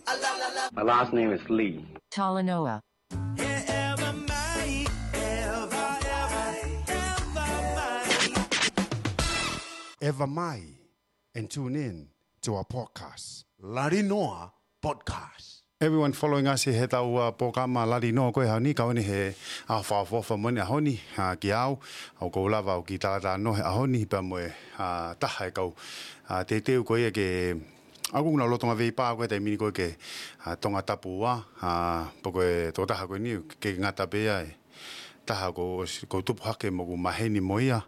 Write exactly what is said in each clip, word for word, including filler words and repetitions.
My last name is Lee. Talanoa. Ever mai and tune in to our podcast. Lari Noa Podcast. Everyone following us he tau uh, pōkama Lari Noa ko e ʻaho ni, kau ni he ʻaho fakaʻofoʻofa mo e ʻaho ni uh, ki au, ʻoku ou lava ʻo kiʻi talatalanoa he ʻaho ni pea mo e uh, taha e kau uh, teuteu ko ia ke ʻoku na lolotonga veipā ko e taimi ni ko e ke uh, Tongatapu ua, uh, pea ko e tokotaha ko eni ke ngata pē ai. Taha ʻoku ou tupu hake mo ʻeku maheni mo ia,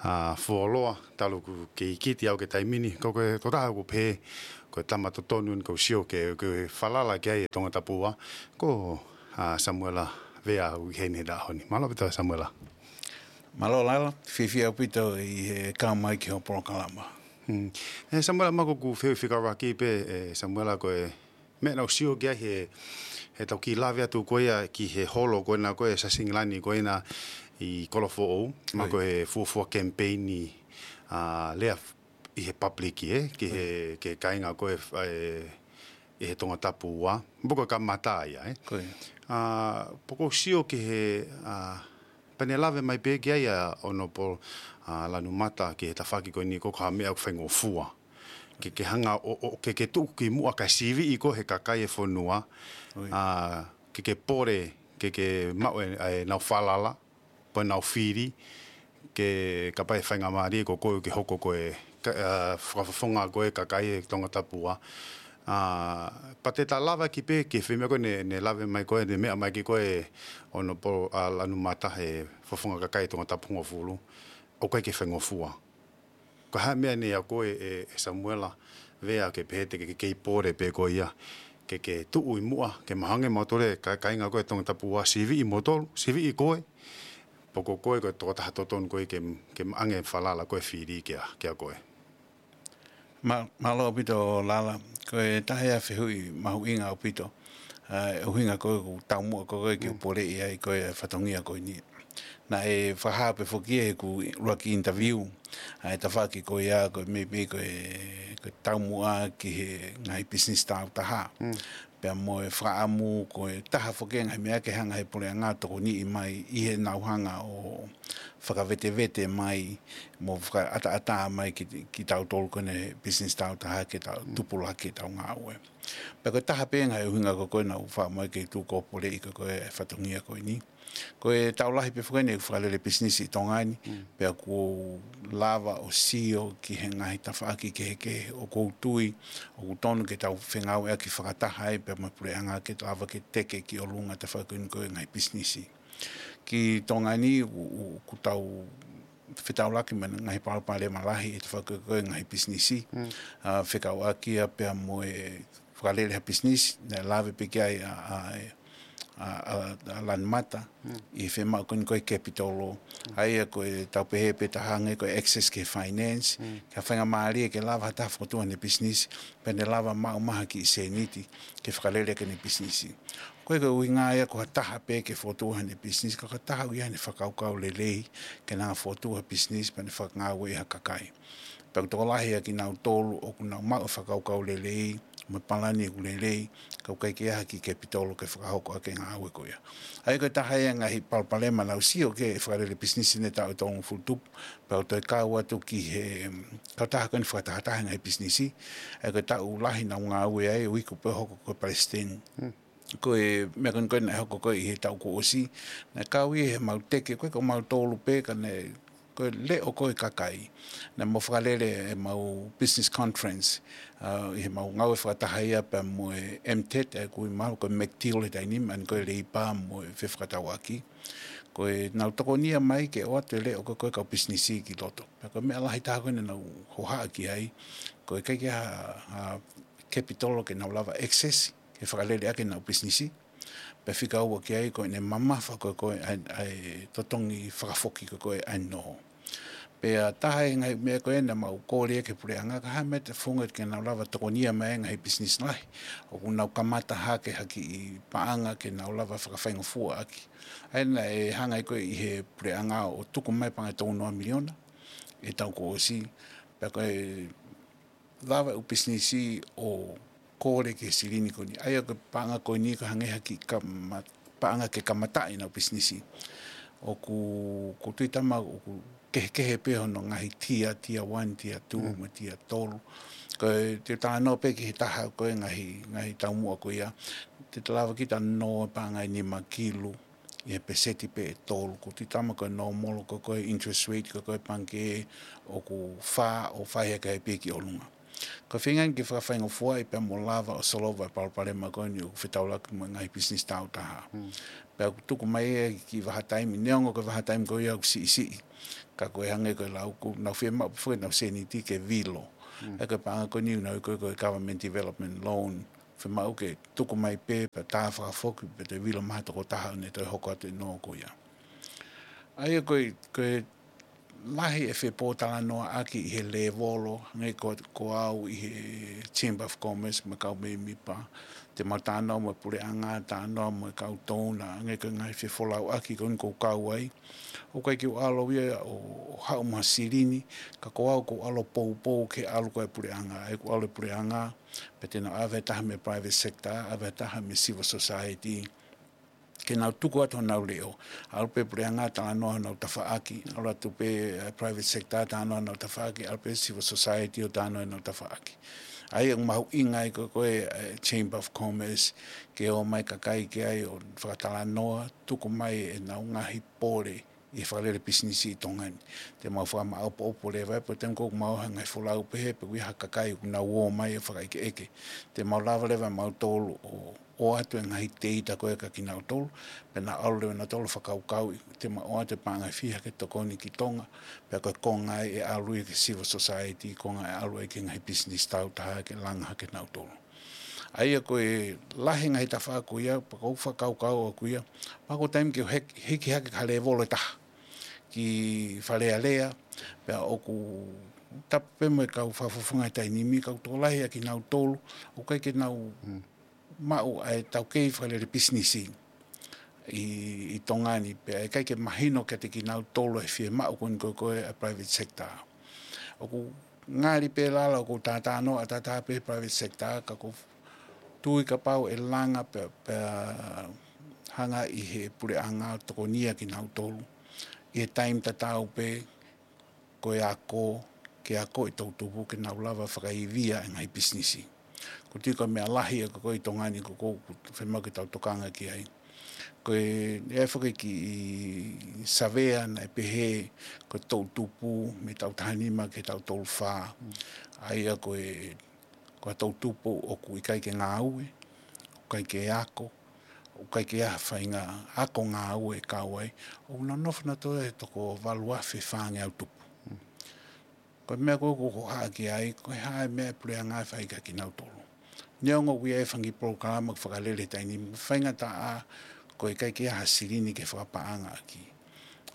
uh, fuoloa, talu ʻeku kei kiti au ki he taimi ni, ko e tokotaha ʻoku pehē, ko e tama totonu ʻoku ou sio ke, ke falala ki ai e Tongatapu ua, ko uh, Samuela Vea ʻoku ʻi heni he ʻaho ni. Mālō ʻaupito Samuela. Mālō Lala, fiefia ʻaupito ʻi he kau mai ki hoʻo polokalama. Hmm. E Samuela, ma ko ʻeku fehuʻi fekauʻaki pē, e Samuela, ko e meʻa naʻá ku sio ki ai he, he tau kiʻi lave atu ko ia ki he holo ko ena ko e Sasingilani ko ena ʻi Kolofoʻou, ma ko e fuofua kemipeini uh, lea ʻi he public ē, ki he, ki he kāinga ko e, e, ʻi he Tongatapu ua, pea ko e kamata ia ē. Ko ia. Uh, pea ʻoku ou sio ki he, uh, pea ne lave mai pē ki ai ʻa Honourable uh, Lanumata ki he tafaʻaki ko eni ko e hā e meʻa ʻoku faingofua. Ke, ke hanga ʻo, ʻo ke, ke tuʻu ki muʻa kae siviʻi koe he kakai e fonua, uh, ke, ke pole, ke, ke maʻu e, e nau falala, pea nau fili, ke kapau ʻe faingamālie ko koe ke hoko ko e, ka, uh, fakafofonga ko e kakai e Tongatapu ua. Uh, pea te ta lava ki pē ki he meʻa ko ē ne, ne lave mai ko ē, ne meʻa mai ki ko ē Honourable uh, Lanumata he fofonga kakai e Tongatapu hongofulu, ʻoku ʻikai ke faingofua. Ko e hā e meʻa ne ʻai ko ē e, e Samuela Vea ke pehē te ke, ke kei pole pē ko ia. Ke, ke tuʻu ʻi muʻa, ke mahanga mo tole, ka, kāinga ko e Tongatapu ua siviʻi mo tolu, siviʻi koe. Pea ko koe ko e tokotaha totonu ko ē ke, ke ʻange falala ko e fili kia, kia koe. Ma, mālō ʻaupito Lala, ko e taha ia e fehuʻi mahuʻinga ʻaupito. Uh, ʻuhinga ko e ʻoku taumuʻa ko e ke u poleʻi ai ko e fatongia ko eni. Naʻe fakahā pē foki ʻi heʻeku ʻuluaki interview, ʻa e tafaʻaki ko ia ko e maybe ko e, ko e taumuʻa ki he ngaahi business tāutaha. Mm. Pea mo e fakaʻamu ko e taha foki e ngaahi meʻa ke hanga he puleʻanga ʻo tokoniʻi mai ʻi heʻenau hanga ʻo fakavetevete mai mo fakaʻataʻatā mai ki, kitautolu ko eni business tāutaha ke tau tupulaki ʻetau ngāue. Pea ko e taha pē ngaahi ʻuhinga ko ē naʻá ku fakaʻamu ai ke tuʻu ʻo poleʻi ko ē e fatongia ko eni. Ko e taʻu lahi pē foki eni ʻeku fakalele pisinisi ʻi Tonga ni, mm, pea ʻoku ou lava ʻo sio ki he ngaahi tafaʻaki kehekehe ʻoku ou tui ʻoku tonu ke tau fengāueʻaki fakataha ai pea mo e puleʻanga ke lava ke teke ki ʻolunga e tafaʻaki ko eni ko e ngaahi pisinisi. Ki Tonga ni, ʻoku, ʻoku tau fetaulaki mo e ngaahi palopalema lahi ʻi he tafaʻaki ko ē ngaahi pisinisi. Mm. Uh, fekauʻaki ia pea mo e fakalele ha pisinisi, naʻe lave pē ki ai ʻa, ʻa, ʻa, ʻa, ʻa Lanumata, mm, ʻi he fiemaʻu ko eni ko e kepitolo, mm, ʻa ia ko e tau pehē pē taha ange ko e access ki he finance, mm, ke faingamālie ke lava ha taha fokotuʻu haʻane pisinisi, pea ne lava maʻu mai ha kiʻi sēniti, ke fakalele ʻaki ʻene pisinisi. Ko e, ko e ʻuhinga ia ko ha taha pē ke fokotuʻu haʻane pisinisi, ka ko ha taha ʻoku ʻi ai haʻane fakakaukau lelei, ke ne hanga fokotuʻu ha pisinisi, pea ne fakangāueʻi ha kakai. Pea ʻoku tokolahi ʻa kinautolu ʻoku nau maʻu e fakakaukau lelei, mo e palani ʻoku lelei, ka ʻoku ʻikai ke ʻi ai ha kiʻi kepitolo ke fakahoko ʻaki e ngāue ko ia. ʻA ia ko e taha ia e ngaahi palopalema naʻá ku sio ki he fakalele pisinisi ʻi he taʻu ʻe tolungofulu tupu, pea u toe kau atu ki he, mm, kautaha ko eni fakatahataha e ngaahi pisinisi, ʻa ia ko e taʻu lahi naʻá ku ngāue ai, ʻo iku pē ʻo hoko ko e palesiteni. Hmm. Ko e meʻa ko eni ko ē naʻe hoko ko ē ʻi he taʻu kuo ʻosi, naʻe kau ia he mau teke, ko e ko mautolu pē ka ne, ko e leʻo ko ē e kakai. Naʻa mau fakalele ʻemau business conference, uh, ʻi heʻemau ngāue fakataha ia pea mo e M TED, ʻa ia ʻoku ui mahalo ko e McTeal he taimi ni, ʻa eni ko e Leipa mo e Fefakatauʻaki. Ko ʻenau tokonia mai ke ʻoatu e leʻo ko ē ko ē e kau pisinisi ki loto. Pea ko e meʻa lahi taha ko ē naʻa nau hohaʻa ki ai, ko e ʻikai ke ʻi ai ha, ha kepitolo ke nau lava access, ke fakalele ʻaki ʻenau pisinisi. Pea fika ua ki ai ko ʻene mamafa ko ē ko ē ʻa e, ʻa e totongi fakafoki ko ē ko ē ʻa e nō. Pea taha e ngaahi meʻa ko ē naʻa mau kole ki he puleʻanga, ko e hā e meʻa te funga ke nau lava tokonia mai e ngaahi pisinisi lahi ʻoku nau kamata hake ha kiʻi paʻanga ke nau lava fakafaingofua ʻaki. ʻA ia naʻe hanga ai ko ē ʻe he puleʻanga ʻo tuku mai e paʻanga ʻe tolunoa miliona ʻi he taʻu kuo ʻosi. Pea ko e lava e ʻū pisinisi ʻo kole ki he silini ko eni. ʻA ia ko e paʻanga ko eni ko e hangē ha kiʻi kama-, paʻanga ke kamataʻi ʻenau pisinisi. ʻOku, ʻoku ou tui talamai ʻoku kehekehe pē hono ngaahi tier, tier one, tier two, mo e tier tolu. Ko e te u talanoa pē ki he taha ko e ngaahi, ngaahi taumuʻa ko ia. Te ta lava kita ʻo nō e paʻanga ʻe nima kilu ʻi he peseti pē ʻe tolu. ʻOku ou tui talamai ko e normal ko e, ko e interest rate ko e, ko e pangikē ʻoku fā ʻo fai hake ai pē ki ʻolunga. Ko e feinga eni ke fakafaingofuaʻi pea mo lava ʻo solova e palopalema ko eni ʻoku fetaulaki mo e ngaahi pisinisi taautaha. Pea ʻoku tuku mai e kiʻi vahaʻa taimi, neongo ko e vahaʻa taimi ko ia ʻoku siʻisiʻi. Ka ko e hangē ko e lau ʻoku nau fiemaʻu pē foki ʻenau sēniti ke vilo. ʻA ia ko e paʻanga ko eni ʻoku nau ui ko e, ko e government development loan. Fiemaʻu ke tuku mai pē, pea tā fakafoki, pea toe vilo mai ha tokotaha ʻo ne toe hoko atu e nō ko ia. ʻA ia ko e, ko e lahi e fepōtalanoaʻaki ʻi he lēvolo, hangē ko, ko au ʻi he Chamber of Commerce mo e kau mēmipa, te mau talanoa mo e puleʻanga, talanoa mo e kau donor, hangē ko e ngaahi fefolauʻaki ko eni ʻoku ou kau ai. ʻOku ʻikai ke u ʻalu ia ʻo, ʻo haʻu mo ha silini, ka ko au ʻoku ou ʻalu ʻo poupou ke ʻalu ko e puleʻanga, ʻa ia ʻoku ʻalu e puleʻanga, pea te nau ʻave ha taha mei he private sector, ʻave ha taha mei he civil society, ke nau tuku atu honau leʻo. ʻAlu pē puleʻanga talanoa honau tafaʻaki, ʻalu atu pē, eh, private sector talanoa honau tafaʻaki, ʻalu pē civil society ʻo talanoa honau tafaʻaki. ʻA ia ʻoku mahuʻinga ai ko e, ko e, eh, Chamber of Commerce, ke ō mai kakai ki ai ʻo fakatalanoa, tuku mai ʻenau ngaahi pole ʻi he fakalele pisinisi ʻi Tonga ni. Te mau fakamāʻopoʻopo leva, pea te mau ʻomai ha ngaahi folau pehē, pe ʻoku ʻi ai ha kakai ʻoku nau ō mai ʻo fakaʻekeʻeke. Te mau lava leva mautolu ʻo, ʻoatu e ngaahi teita ko ē kia kinautolu, pea nau ʻalu leva nautolu ʻo fakakaukauʻi, te mau ʻoatu e paʻanga ʻe fiha ke tokoni ki Tonga, pea ko e konga ia ʻe ʻalu ia ki he civil society, konga ia ʻe ʻalu ia ki he ngaahi pisinisi taautaha ke langa hake kinautolu. ʻA ia ko e lahi e ngaahi tafaʻaki ko ia, pea ʻoku ou fakakaukau ʻaʻaku ia, mahalo ko e taimi ke hik-, hiki hake ki ha lēvolo ʻe taha, ki Fale Alea, pea ʻoku tapu pē mo e kau fakafofonga he taimi ni, ka ʻoku tokolahi ʻa kinautolu, ʻoku ʻikai ke nau maʻu ʻa e taukei fakalele pisinisi ʻi, ʻi Tonga ni, pea ʻikai ke mahino kiate kinautolu e fiemaʻu ko eni ko e, ko e ʻa e private sector. ʻOku ngali pē lala ʻoku ou talanoa ʻataʻatā pē he private sector, ka ʻoku ou tui kapau ʻe langa pea, pea hanga ʻe he puleʻanga ʻo tokonia kinautolu ʻi he taimi tatau pē, ko e ako, ke ako e toʻutupu ke nau lava fakaivia e ngaahi pisinisi. ʻOku ou tui ko e meʻa lahi ʻa e ko ē ʻi Tonga ni ʻoku, ʻoku fiemaʻu ke tau tokanga ki ai. Ko e, ʻe ʻi ai foki e kiʻi savea naʻe pehē, ko e toʻutupu mei he taʻu taha nima ki he taʻu tolu fā. ʻA ia ko e, ko e toʻutupu ʻoku ʻikai ke ngāue, ʻoku ʻikai ke ako, ʻoku ʻikai ke ʻi ai ha faʻahinga ako ngāue ʻe kau ai, ʻoku nau nofo nautolu he toko valu afe fāngeau tupu. Ko e meʻa ko ē ʻoku ou hohaʻa ki ai, ko e hā e meʻa ʻa e puleʻanga ʻe fai kia kinautolu. Neongo ʻoku ʻi ai e fanga kiʻi polokalama ʻoku fakalele he taimi ni, faingataʻa ko e ʻikai ke ʻi ai ha silini ke fakapaʻangaʻaki.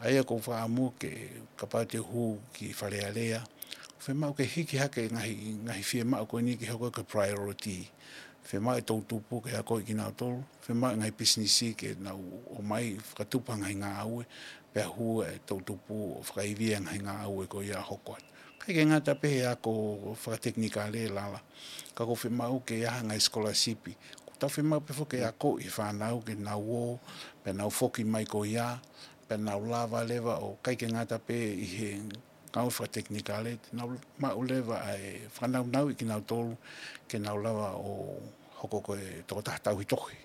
ʻA ia ʻoku ou fakaʻamu ke kapau te u hū ki Fale Alea, fiemaʻu ke hiki hake e ngaahi, ngaahi fiemaʻu ko eni ke hoko ko e priority. Fiemaʻu e toʻutupu ke akoʻi kinautolu, fiemaʻu e ngaahi pisinisi ke nau ō mai fakatupu ha ngaahi ngāue, pea hū e toʻutupu ʻo fakaivia e ngaahi ngāue ko ia ʻa hoko atu. ʻIkai ke ngata pē he ako fakatekinikale lala, ka ʻoku fiemaʻu ke ʻi ai ha ngaahi sikolasipi. ʻOku tau fiemaʻu pē foki ke akoʻi e fānau ke nau ō, pea nau foki mai ko ia, pea nau lava leva ʻo ʻikai ke ngata pē ʻi he ngāue fakatekinikale, te nau maʻu leva ʻa e fakanaunauʻi kinautolu, ke nau lava ʻo hoko ko e tokotaha tauhi tohi.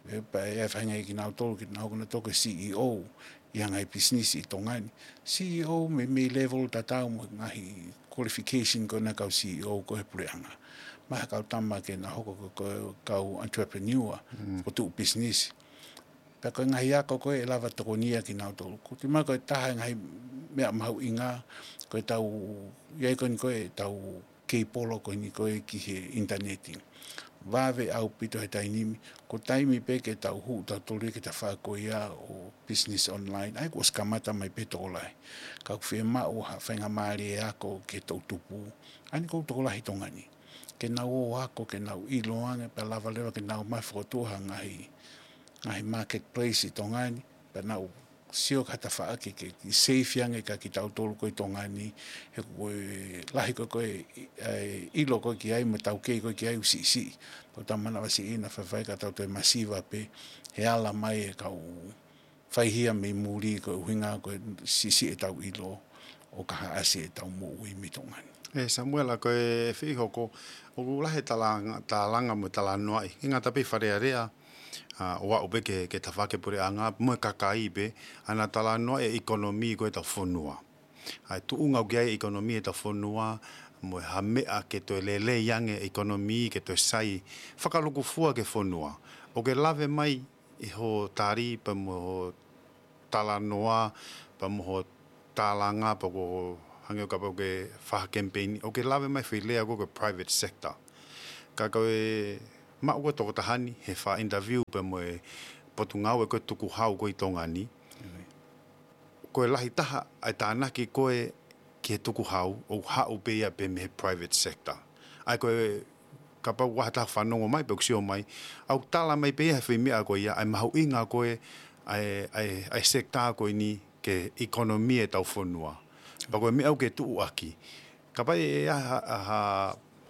ʻE, pea ʻe faʻahinga ʻia kinautolu, ke nau hoko nautolu ko e C E O ʻi ha ngaahi pisinisi ʻi Tonga ni. C E O mei, mei he lēvolo tatau mo e ngaahi qualification ko ena ʻa e kau C E O ko ē he puleʻanga. Mahalo ha kau tama ke nau hoko ko e, ko e kau entrepreneur, ko e tuʻu pisinisi. Pea ko e ngaahi ako ko ē ʻe lava tokonia kinautolu. ʻOku ou tui mai ko e taha e ngaahi meʻa mahuʻinga, ko ʻetau, ʻi ai ko eni ko ē ʻetau keipolo ko eni ko ē ki he ʻinitaneti. Vave ʻaupito he taimi ni, ko e taimi pē ke tau hū tautolu ki he tafaʻaki ko ia ʻo business online, ʻa ia kuo ʻosi kamata mai pē he tokolahi. Ka ʻoku fiemaʻu ha faingamālie ako ki he toʻutupu, ʻa eni ko e tokolahi ʻi Tonga ni. Ke nau ō ʻo ako, ke nau ʻilo ange, pea lava leva ke nau ō mai ʻo fokotuʻu ha ngaahi, ngaahi marketplace ʻi Tonga ni, pea nau sio ki ha tafaʻaki ke, ke seifi ange kia kitautolu ko ē ʻi Tonga ni, he ko e lahi ko ē ko ē ʻilo ko ē ki ai mo e taukei ko ē ki ai ʻoku siʻisiʻi. Pea ʻoku tau manavasiʻi naʻa faifai ka tau toe masiva pē he ala mai e kau faihia mei muli ko e ʻuhinga ko e siʻisiʻi ʻetau ʻilo ʻo ka haʻasi ʻetau moʻui mei Tonga ni. ʻE Samuela, ko e fihoko, ʻoku lahi e tālanga, tālanga mo e talanoaʻi. ʻIkai ngata pē ʻi Fale Alea, ʻa, ʻo aʻu pē ki he, ki he tafaʻaki puleʻanga, mo e kakai pē, ʻa ʻena talanoaʻi e ʻekonōmī ko ē ʻetau fonua. ʻA e tuʻunga ʻoku ʻi ai e ʻekonōmī ʻetau fonua, mo e hā e meʻa ke toe lelei ange e ʻekonōmī, ke toe sai fakalūkufua ki he fonua. ʻOku ke lave mai ʻi hoʻo tali pea mo hoʻo talanoa, pea mo hoʻo tālanga, pea ko hoʻo hangē ʻoku ke fai ha kemipeini, ʻoku ke lave mai e foʻi lea ko ē ko e private sector. Ka ko e maʻu ko ē tokotaha ni he faʻa interview pea mo e potungāue ko ē tukuhau ko ē ʻi Tonga ni. Ko e lahi taha ʻa e tānaki ko ē ki he tukuhau ʻoku haʻu pē ia pē mei he private sector. ʻA ia ko e kapau ʻoku ʻi ai ha taha fanongo mai pe ʻoku sio mai, ʻoku tala mai pē ia he foʻi meʻa ko ia, ʻa e mahuʻinga ko ē ʻa e, ʻa e, ʻa e sector ko eni ki he ʻekonōmī ʻetau fonua. Pea ko e meʻa ʻoku ke tuʻuaki. Kapau ʻe ʻi ai ha, ha, ha,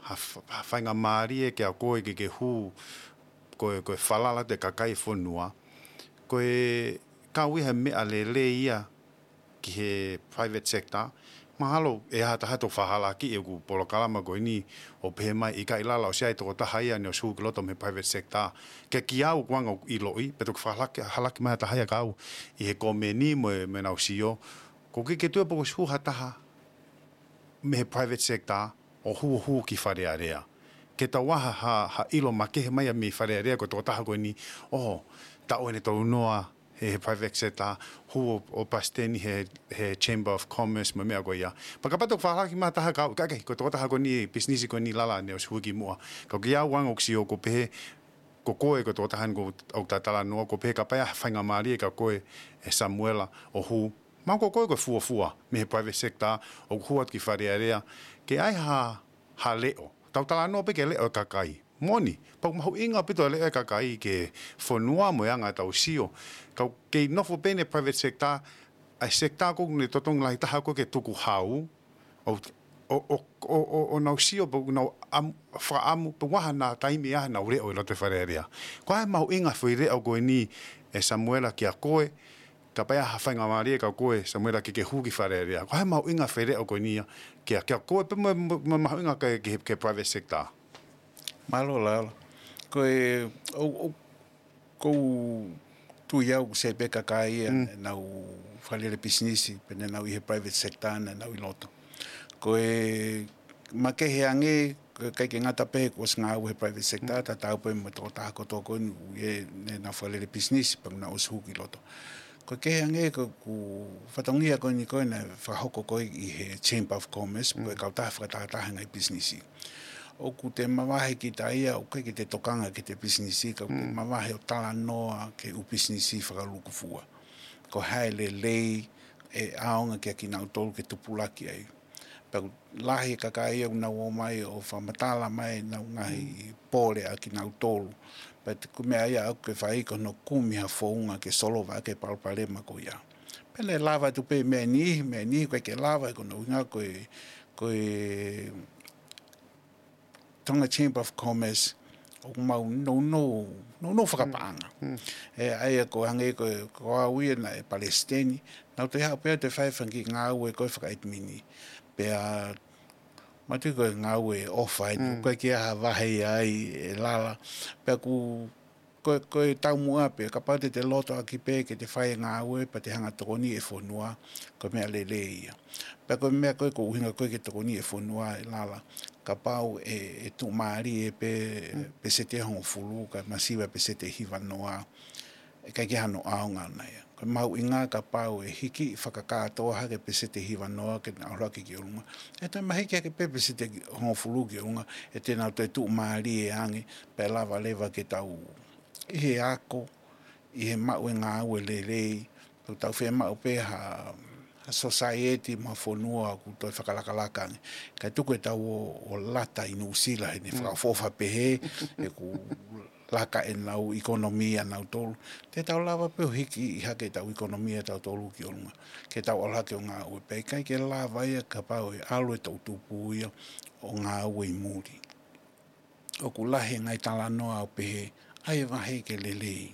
ha, ha faingamālie kia koe ke ke hū, ko e, ko e falala atu e kakai e fonua. Ko e kau ia he meʻa lelei ia ki he private sector. Mahalo ʻe ʻi ai ha taha ʻe toki fakahalakiʻi ʻeku polokalama ko eni ʻo pehē mai ʻikai, Lala, ʻosi ʻi ai e tokotaha ia naʻe ʻosi hū ki loto mei he private sector. Ka kiate au, ko e anga ʻeku ʻiloʻi, pea toki fakahalaki, halaki mai ha taha ia kiate au ʻi he komeni mo e, mo ʻenau sio. ʻOku ʻikai ke u tui pe kuo ʻosi hū ha taha mei he private sector ʻo hū, hū ki Fale Alea. Ke tau ʻai ha, ha, ha ʻilo makehe mai ia mei Fale Alea ko e tokotaha ko eni, ʻo, taʻu ʻeni ʻe tolu noa he, he private sector, hū ʻo, ʻo palesiteni he, he Chamber of Commerce mo e meʻa ko ia. Pea kapau te u fakahalakiʻi mai ha taha kiate au, ʻikai, ʻikai, ko e tokotaha ko eni, pisinisi ko eni, Lala, naʻe ʻosi hū kimuʻa. Ka kiate au ʻoku ou sio ko e pehē, ko koe ko e tokotaha ni ʻoku ou talanoa, ko e pehē kapau ʻe ʻi ai ha faingamālie kia koe, ʻe Samuela, ʻo hū. Mahalo ko koe ko e fuofua mei he private sector ʻoku hū atu ki Fale Alea, ke ʻai ha, ha leʻo. Tau talanoa pē ki he leʻo e kakai. Moʻoni, pea ʻoku mahuʻinga ʻaupito e leʻo e kakai ki he fonua mo e anga ʻetau sio. Ka ʻoku kei nofo pē ʻeni private sector, ʻa e sector ko ē ʻoku ne totongi lahi taha ko ē ki he tukuhau, ʻo, ʻo, ʻo, ʻo, ʻo nau sio, pea ʻoku nau ʻam-, fakaʻamu, pea ʻoku ʻi ai haʻanau taimi ia ʻenau leʻo ʻi loto ʻi Fale Alea. Ko e hā e mahuʻinga e foʻi leʻo ko eni, ʻe Samuela, kia koe, kapau ʻe ʻi ai ha faingamālie kia koe, Samuela, ke ke hū ki Fale Alea. Ko e hā e mahuʻinga e foʻi leʻo ko eni ia kia, kia koe, pea mo, mo, mo e mahuʻinga ki he, ki he, ki he private sector? Mālō, Lala. Ko e, ʻo, ʻo, ʻoku ou tui au ʻoku sai pē kakai ia naʻa nau fakalele pisinisi, pe naʻa nau ʻi he private sector, naʻa nau ʻi loto. Ko e makehe ange, ko e ʻikai ke ngata pē kuo ʻosi ngāue he private sector, tatau pē mo e tokotaha kotoa ko eni ʻoku ʻi ai ʻenau fakalele pisinisi, pea naʻa nau ʻosi hū ki loto. Ko e kehe ange ko ʻeku fatongia ko eni ko ē naʻe fakahoko ko ē ʻi he Chamber of Commerce, ko e kautaha fakatahataha e ngaahi pisinisi. ʻOku te mavahe kita ia, ʻoku ʻikai ke te tokanga ki heʻete pisinisi, ka ʻoku te mavahe ʻo talanoa ki he ʻū pisinisi fakalūkufua. Ko e hā e lelei ʻe ʻaonga kia kinautolu ke tupulaki ai. Pea ʻoku lahi e kakai ia ʻoku nau ō mai ʻo fakamatala mai ʻenau ngaahi pole ʻa kinautolu. Pea ko e meʻa ia ʻoku ke fai ko hono kumi ha founga ke solova ʻaki e palopalema ko ia. Pea ne lava atu pē meʻa niʻihi, meʻa niʻihi ʻoku ʻikai ke lava, ko hono ʻuhinga ko e, ko e Tonga Chamber of Commerce, ʻoku mau nounou, nounou fakapaʻanga. ʻE, ʻa ia ko e hangē ko, ko au ia naʻe palesiteni, naʻa ku toe haʻu pē ʻo toe fai e fanga kiʻi ngāue ko e fakaʻitimini. Pea, ma tui ko e ngāue ʻofa eni, ʻoku ʻikai ke ʻi ai ha vahe ia ai, ʻe Lala. Pea ʻoku ko, ko e taumuʻa pē, kapau te te loto ʻaki pē ke te fai e ngāue, pea te hanga ʻo tokoniʻi e fonua, ko e meʻa lelei ia. Pea ko e meʻa ko ē ʻoku ʻuhinga ko ē ke tokoniʻi e fonua, ʻe Lala, kapau ʻe, ʻe tuʻumālie pē, peseti ʻe hongofulu, kae masiva peseti ʻe hiva noa, ʻe ʻikai ke ʻi ai hano ʻaonga ʻona ia. Ko e mahuʻinga kapau ʻe hiki fakakātoa hake peseti ʻe hiva noa ke nau ʻalu hake ki ʻolunga. ʻE toe mahiki hake pē peseti ʻe hongofulu ki ʻolunga, ʻe te nau toe tuʻumālie ange, pea lava leva ke tau ʻi he ako, ʻi he maʻu e ngāue lelei, ʻoku tau fiemaʻu pē ha, ha society mo e fonua ʻoku toe fakalakalaka ange. Kae tuku ʻetau ō, ō lata ʻi Nuʻusila heʻene fakaʻofoʻofa pehē, ʻeku laka ʻenau ʻikonomia ʻanautolu. Te tau lava pē ʻo hiki ʻi hake ʻetau ʻikonomia ʻatautolu ki ʻolunga. Ke tau ʻalu hake ʻo ngāue pē. ʻIkai ke lava ia kapau ʻe ʻalu e toʻutupu ia ʻo ngāue ʻi muli. ʻOku lahi e ngaahi talanoa ʻo pehē, ʻai e vahe ke lelei.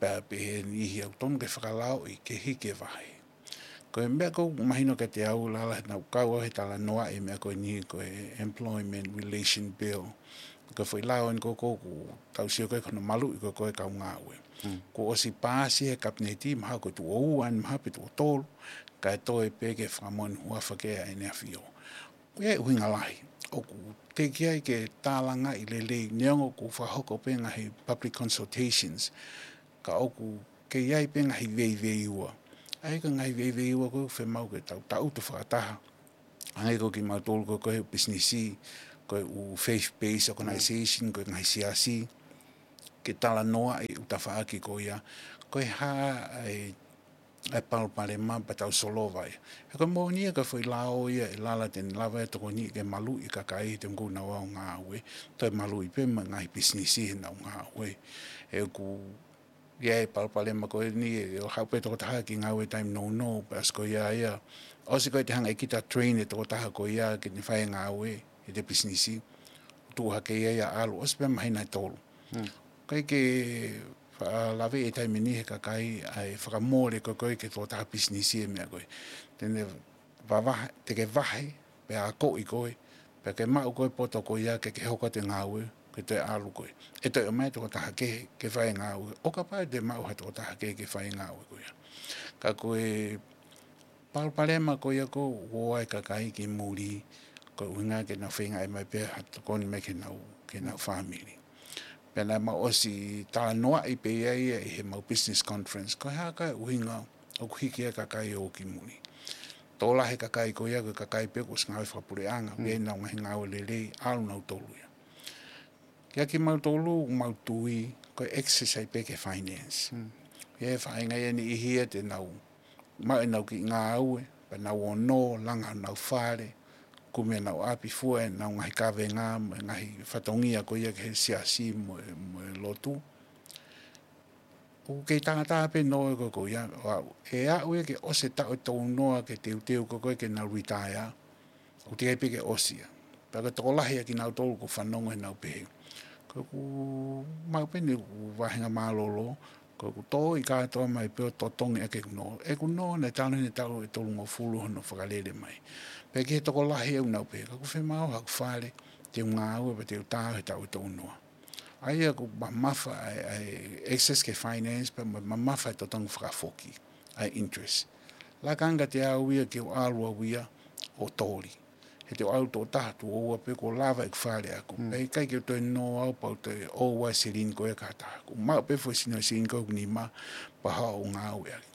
Pea pehē niʻihi ʻoku tonu ke fakalaoʻi, ke hiki e vahe. Ko e meʻa ʻoku mahino kiate au Lala, naʻa ku kau au he talanoa e meʻa ko eni ko e Employment Relation Bill. Ko e foʻi lao eni ko ē ʻoku tau sio ko ē ki hono maluʻi ko ē ʻo e kau ngāue. Kuo ʻosi paasi he kapineti, mahalo ko e tuʻo ua eni mahalo pe tuʻo tolu, kae toe pē ke fakamoʻoni huafa ki ai ʻEne ʻAfio. Ko ia e ʻuhinga lahi ʻoku teʻeki ai ke tālangaʻi lelei, neongo ʻoku fakahoko pē ngaahi public consultations, ka ʻoku kei ʻi ai pē ngaahi veiveiua. ʻA ia ko e ngaahi veiveiua ko ē ʻoku fiemaʻu ke tau taʻutu fakataha. Hangē ko kimautolu ko ē ko e pisinisi, ko e ʻū faith-based organization, ko e ngaahi siasi, ke talanoaʻi e ʻū tafaʻaki ko ia, ko e hā ʻa e ʻa e palopalema pea tau solova ia. He ko e moʻoni ia ko e foʻi lao ia ʻe Lala te ne lava e tokoni ke maluʻi e kakai he te muku nau ō ʻo ngāue, toe maluʻi pē mo e ngaahi pisinisi heʻenau ngāue. He ʻoku ʻi ai e palopalema ko eni ʻe ʻo haʻu pē tokotaha ki ngāue taimi nounou, pea ʻosi ko ia ia, ʻosi ko ē te hanga ʻe kita ʻo train e tokotaha ko ia ke ne fai e ngāue, ʻi he pisinisi, tuʻu hake ia ia ʻalu, ʻosi pē māhina ʻe tolu. ʻIkai ke faʻa lave e taimi ni he kakai ʻa e fakamole ko ē ko ē ki he tokotaha pisinisi e meʻa ko ē. Te ne vavahe, te ke vahe, pea akoʻi koe, pea ke maʻu koe e poto ko ia ke ke hoko atu e ngāue, ke toe ʻalu koe. ʻE toe ʻomai e tokotaha kehe ke fai e ngāue. ʻO kapau te maʻu ha tokotaha kehe ke fai e ngāue ko ia. Ka ko e palopalema ko ia ʻoku ō ai e kakai ki muli, ko e ʻuhinga ke nau feinga ʻai mai pē ha tokoni mai ki heʻenau, ki heʻenau fāmili. Pea naʻa mau ʻosi talanoaʻi pē ia ia ʻi heʻemau business conference. Ko e hā e ʻuhinga ʻoku hiki ai e kakai ʻo ō ki muli. Tokolahi e kakai ko ia ko e kakai pē kuo ʻosi ngāue fakapuleʻanga, ʻoku ʻi ai ʻenau ngaahi ngāue lelei, ʻalu nautolu ia. Kia kimautolu, mau tui, ko e access ai pē ki he finance. ʻI ai e faʻahinga ia ʻe niʻihi ia te nau maʻu ʻenau kiʻi ngāue, pea nau ō ʻo langa honau fale, kumi honau ʻapi, fua ʻenau ngaahi kavenga, mo e ngaahi fatongia ko ia ki he siasi, mo e, mo e lotu. ʻOku kei tātā pē ʻenau ngāue ko ia, ʻo aʻu, ʻe aʻu ia ke ʻosi e taʻu ʻe tolunoa ke teuteu ko ē ke nau retire, ʻoku teʻeki ai pē ke ʻosi ia. Pea ko e tokolahi ʻa kinautolu ʻoku fanongo heʻenau pehē, ko ʻeku maʻu pē ʻeku vahenga mālōlō, ko ʻeku tō ʻi kātoa mai pē ʻo totongi ʻaki ʻeku nō. ʻEku nō naʻe talu ʻene taʻu ʻe tolungofulu hono fakalele mai. Pea ki he tokolahi ʻoku nau pehē, ka ʻoku fiemaʻu haʻaku fale, te u ngāue pea te u tā he taʻu ʻe tolunoa. ʻA ia ʻoku mamafa ʻa e, ʻa e access ki he finance, pea mo e mamafa e totongi fakafoki ʻa e interest. Laka ange kiate au ia ke u ʻalu au ia ʻo toli. He te u ʻalu tuʻo taha, tuʻo ua pē kuo lava ʻeku fale ʻaʻaku. Pea ʻikai ke u toe nō au pea u toe ʻoua e silini ko ia ki ha taha. Kuo maʻu pē foʻi sino silini ko ē ʻe nima pea haʻu ʻo ngāue ʻaki.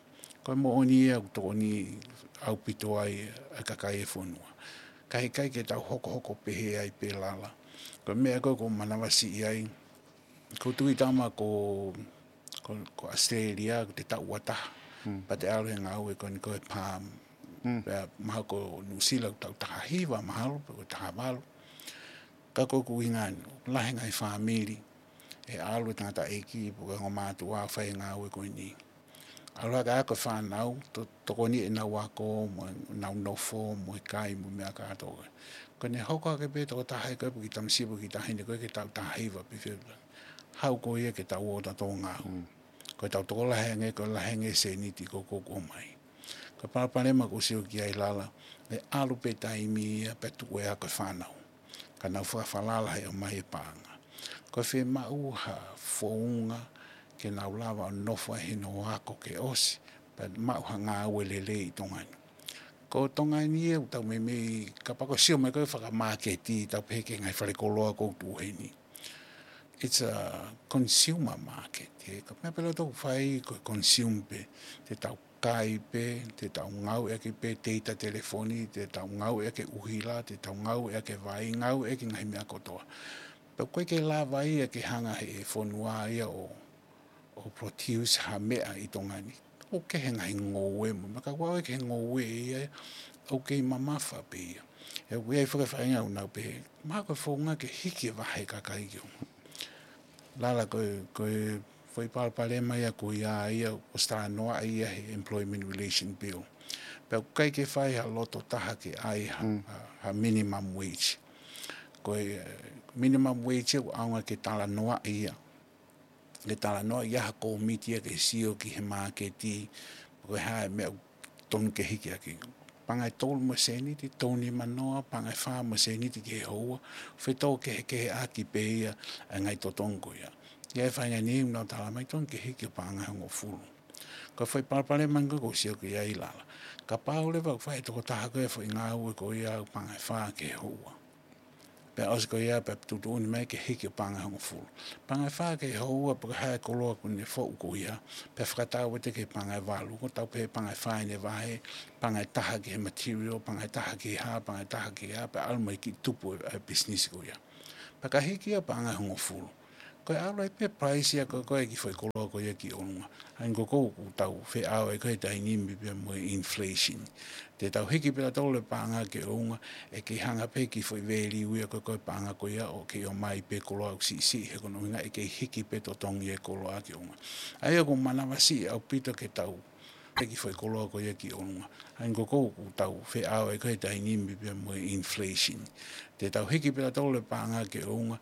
Ko e moʻoni ia ʻoku tokoni ʻaupito ai ʻa e kakai e fonua. Ka ʻikai ke tau hokohoko pehē ai pē Lala. Ko e meʻa ko ē ʻoku ou manavasiʻi ai, ʻoku ou tui Tama ko, ko, ko ʻAositelēlia, ʻoku te taʻu ua taha. Pea te ʻalu he ngāue ko eni ko e PALM. Pea mahalo ko Nuʻusila ʻoku taʻu taha hiva mahalo, pe ko e taha valu. Ka ko ʻeku ʻuhinga eni, lahi e ngaahi fāmili, ʻe ʻalu e tangataʻeiki, pe ko e ongo mātuʻa ʻo fai e ngāue ko eni. ʻAlu hake ʻa e ako e fānau, to-, tokoni ʻenau ako, mo ʻenau nofo, mo e kai, mo e meʻa kātoa. Ko ʻene hoko hake pē tokotaha ia ko ē pe kiʻi tamasiʻi pe kiʻi taʻahine ko ē ke taʻu taha hiva pe fiha. Haʻu ko ia ke tau ō tautolu ʻo ngāue. Ko ʻetau tokolahi ange, ko e lahi ange e sēniti ko ē ʻoku ʻomai. Ko e palopalema ʻoku ou sio ki ai Lala, ʻe ʻalu pē taimi ia pea tuʻu e ako e fānau. Ka nau fakafalala he ʻomai e paʻanga. Ko e fiemaʻu ha founga ke nau lava ʻo nofo ai he nofo ako ke ʻosi, pea maʻu ha ngāue lelei ʻi Tonga ni. Ko Tonga ni ʻoku tau meimei, kapau ʻoku sio mai ko e fakamāketi, tau pehē ki he ngaahi falekoloa ʻoku tuʻu heni. It's a consumer market. He ko e meʻa pē ʻoku tau fai ko e consume pē, te tau kai pē, te tau ngāueʻaki pē data telefoni, te tau ngāueʻaki e ʻuhila, te tau ngāueʻaki e vai, ngāueʻaki e ngaahi meʻa kotoa. Pea ʻoku ʻikai ke lava ia ke hanga ʻe he fonua ia ʻo, ʻo produce ha meʻa ʻi Tonga ni. ʻOku kehe e ngaahi ngoue mo e meʻa, ka ʻoku ʻikai ke he ngoue ia, ʻoku kei mamafa pē ia. He ʻoku ʻi ai e faʻahinga ʻoku nau pehē, mahalo ko e founga ke hiki e vahe e kakai ki ʻolunga. Lala, ko e, ko e foʻi palopalema ia ko ia, ia ʻosi talanoaʻi ia he Employment Relation Bill. Pea ʻoku ʻikai ke fai ha loto taha ke ʻai ha, ha, ha minimum wage. Ko e, eh, minimum wage ia ʻoku ʻaonga ke talanoaʻi ia. Ke talanoaʻi ia ha kōmiti ia ke sio ki he māketi, ko e hā e meʻa ʻoku tonu ke hiki ʻaki. Paʻanga ʻe tolu mo e sēniti, tolu nima noa, paʻanga ʻe fā mo e sēniti ki he houa, fetōkehekeheʻaki pē ia ʻa e ngaahi totonu ko ia. ʻI ai e faʻahinga niʻihi ʻoku nau tala mai tonu ke hiki ʻo paʻanga ʻe hongofulu. Ko e foʻi palopalema ko ē ʻoku ou sio ki ai, Lala. Kapau leva ʻoku fai ʻe he tokotaha ko ē e foʻi ngāue ko ia ʻo paʻanga ʻe fā ki he houa. Pea ʻosi ko ia, pea tuʻutuʻuni mai ke hiki ʻo paʻanga ʻe hongofulu. Paʻanga ʻe fā ki he houa, pe ko e hā e koloa ʻoku ne foʻu ko ia, pea fakatau atu ki he paʻanga ʻe valu, ko e tau pē paʻanga ʻe fā ʻene vahe, paʻanga ʻe taha ki he material, paʻanga ʻe taha ki he hā, paʻanga ʻe taha ki he hā, pea ʻalu mai ki he tupu e, e business ko ia. Pea ka hiki ia ʻo paʻanga ʻe hongofulu. Ko e ʻalu ai pē price ia ko ē, ko e kiʻi foʻi koloa ko ia ki ʻolunga. ʻA ia ko ē ʻoku tau feʻao ai ko ē he taimi ni pea mo e inflation. Te tau hiki pē ʻa tautolu e paʻanga ki ʻolunga, ʻe kei hanga pē kiʻi foʻi value ia ko ē, ko e paʻanga ko ia ʻo kei ʻomai pē koloa ʻoku siʻisiʻi, he ko hono ʻuhinga ʻe kei hiki pē totongi e koloa ki ʻolunga. ʻA ia ʻoku manavasiʻi ʻaupito ke tau hiki foʻi koloa ko ia ki ʻolunga. ʻA ia ko ē ʻoku tau feʻao ai ko ē he taimi ni pea mo e inflation. Te tau hiki pē ʻa tautolu e paʻanga ki ʻolunga,